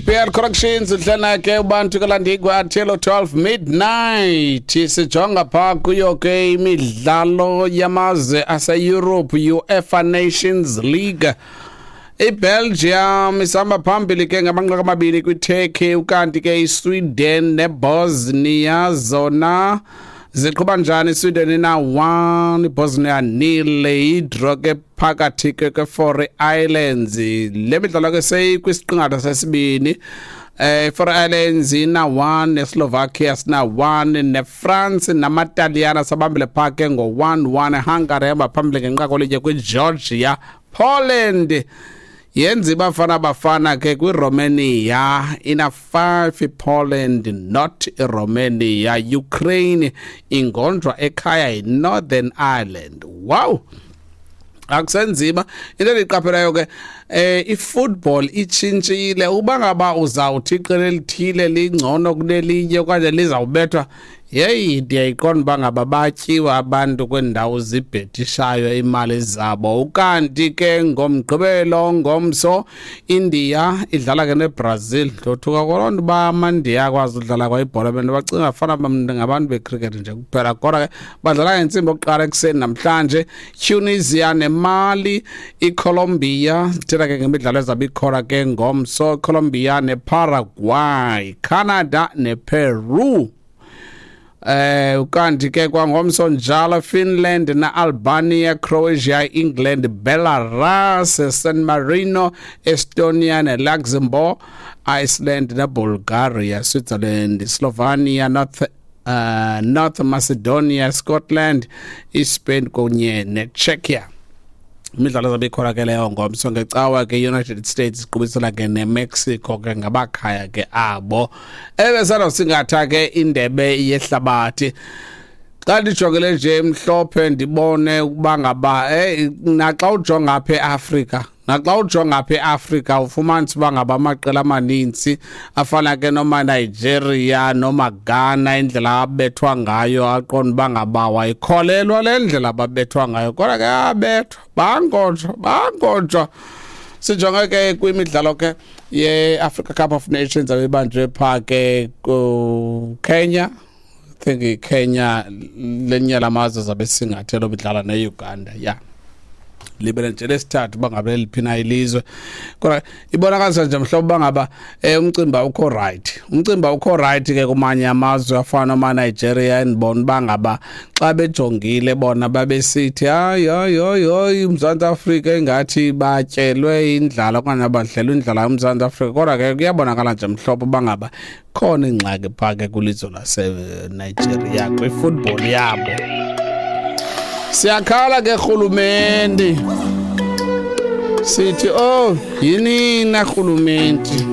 BL Corrections udlana ke ubantu kalandigwa till 12 midnight. Sijonga pha kuyo ke imidlalo yamazwe ase-Europe, UEFA Nations League. IBelgium isihamba phambili ke ngamanqaku 2 kwiTurkey, ukanti ke iSweden neBosnia zona ziqhuba njani? Sweden ina-1, iBosnia 0, idraw ke phakathi ke kweFaroe Islands. Le midlalo ke seyikwisiqingatha sesibini. Faroe Islands ina-1, neSlovakia sina-1, neFrance namaTaliyana sabambile phaa ke ngo-1-1. Hungary ehamba phambili ngenqaku elinye kwiGeorgia. Poland yenza iBafana Bafana ke kwiRomania, ina-5 iPoland, not iRomania. Ukraine ingonjwa ekhaya yiNorthern Ireland. Wow, akusenzima. Into endiyiqaphelayo ke, ifootball itshintshile. Uba ngaba uzawuthi iqela elithile lingcono kunelinye okanye lizawubethwa, yeyi, ndiyayiqonda uba ngaba batyiwa abantu kwiindawo zibhetishayo imali zabo. Ukanti ke ngoMgqibelo, ngomso, India idlala ke neBrazil. Ndothuka kwaloo nto uba amaNdiya akwazi udlala kwa ibhola. Bento bacinga fana ngabantu becricket nje kuphela, kodwa ke badlala ngentsimbi yokuqala ekuseni namhlanje. Tunisia neMali, iColombia, sithetha ke ngemidlalo ezabe ikhona ke ngomso, Colombia neParaguay, Canada nePeru. Ukanti ke kwangomso njalo, Finland na-Albania, Croatia, England, Belarus, San Marino, Estonia neLuxembourg, Iceland neBulgaria, Switzerland, Slovenia, North Macedonia, Scotland, iSpain kunye neCzechia. Imidlalo ezabe ikhona ke leyo ngomso. Ngecawa ke, United States iqubisela ke neMexico ke ngabakhaya ke abo ebesanosingatha ke indebe yehlabathi. Xa ndijongele nje mhlophe, ndibone ukuba ngaba naxa ujonga apha eAfrika, naxa ujonga apha eAfrika, ufumanisa uba ngaba amaqela amaninzi afana ke noma Nigeria noma Ghana, indlela abethwa ngayo, aqonda uba ngaba wayikholelwa le ndlela ababethwa ngayo, kodwa ke abethwa, bangonjwa, bangonjwa. Sijonge ke kwimidlalo ke ye-Africa Cup of Nations abebanjwe phaa ke ku-Kenya. I think iKenya lenye lamazwe zabe singathelo bidlala ne-Uganda, ya libele nje lesithathu bangabe liphi na ilizwe, kodwa ibonakalisa nje mhlobo bangaba umcimbi awukho right, umcimbi awukho right ke kumanye amazwe afana noma Nigeria. Endibona bangaba xa bejongile bona babesithi, hayi, hayi, hayi, hayi, uMzantsi Afrika engathi batyelwe indlala okanye abadlelwe indlala uMzantsi Afrika, kodwa ke kuyabonakala nje mhlobo bangaba khona ingxaki phaa ke kwilizwe laseNigeria kwifootball yabo. Siyakhala ke rhulumente, sithi, oh, yinina rhulumente.